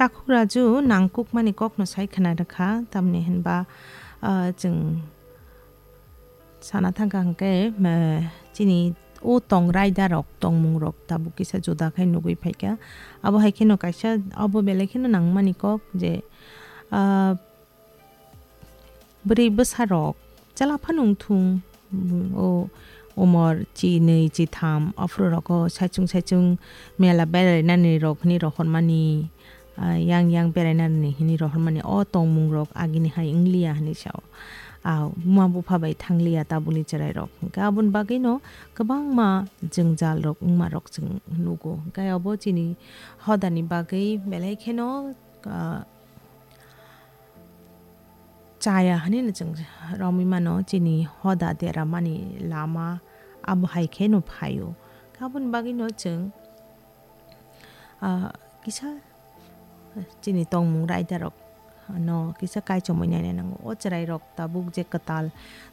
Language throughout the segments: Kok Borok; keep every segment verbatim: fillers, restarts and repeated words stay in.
Takhuk Raju nangkukmani kokno sai khna rwkha, tamni hinba, ah, chwng sana thangkha hwnkhe, eh, chini o tong raidarok, tongmungrok tabuk kisa juda khai nugwi phaikha. Abo hai kheno kaisa, abo belai kheno nangmani kok je, ah, bwrwi bwsarok chwla phano wngthung, o umor chi nwi, chi tham, aphuru rogo saichung saichung mela berainani rok hwnwi rohormani, ah, yang yang berainani hwnwi rohormani, o tongmungrok agini hai wngliya hwnwi sao. Ah, buma bupha bai thangliya tabukni chwrairok. Hwnkhe aboni bagwino kwbangma jwngjalrok wngmarok chwng nugo. Hwnkhe abo chini hodani bagwi belai kheno, ah, chaya hwnwi no chwng romwi mano, chini hoda deramani lama abo hai khe no phaio. Aboni bagwi no chwng, ah, kisa chini tongmung raidarok no kisa kaichomwi naina nango. O chwrairok tabuk je kwtal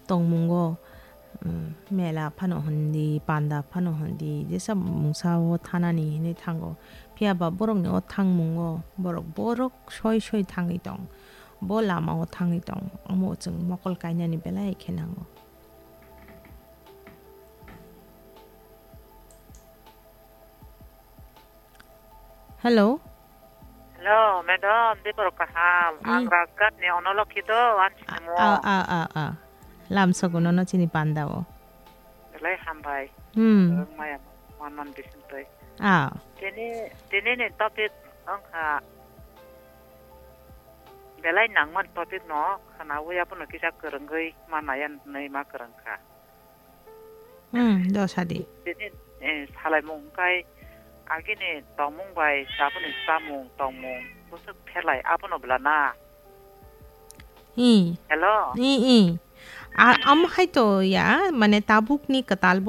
tongmungo, um, mela phano hwndi, panda phano hwndi, jesa mungsa o thanani hinwi thango. Phiya ba borokni o thangmungo borok, borok soi soi thangwi tong. Bo lama o thangwi tong. Omo chwng mokol kainani belai khe nango. Hello? Hello, madam, de borok kaham. Hmm. Ang Rajghat ni Onolokhi do, ang A, Simo. A, a, a, a. Lamsogo nono chini panda o. Belai hambai. Hmm. Ang maya manman bisingtwi. A. Tini, tini ni topic wngkha belai nangman topic no khwnawi abono kisa kwrwngwi ma naiya hwnwi ma kwrwngkha. Hmm, do sadi. Tini, eh, salaimung kai agini tongmung bai taboni chamung tongmung bwswk pherlai abono bwla na. Hmm. Hello? Hmm, hmm. A, am hai to ya, mane tabuk ni kwtal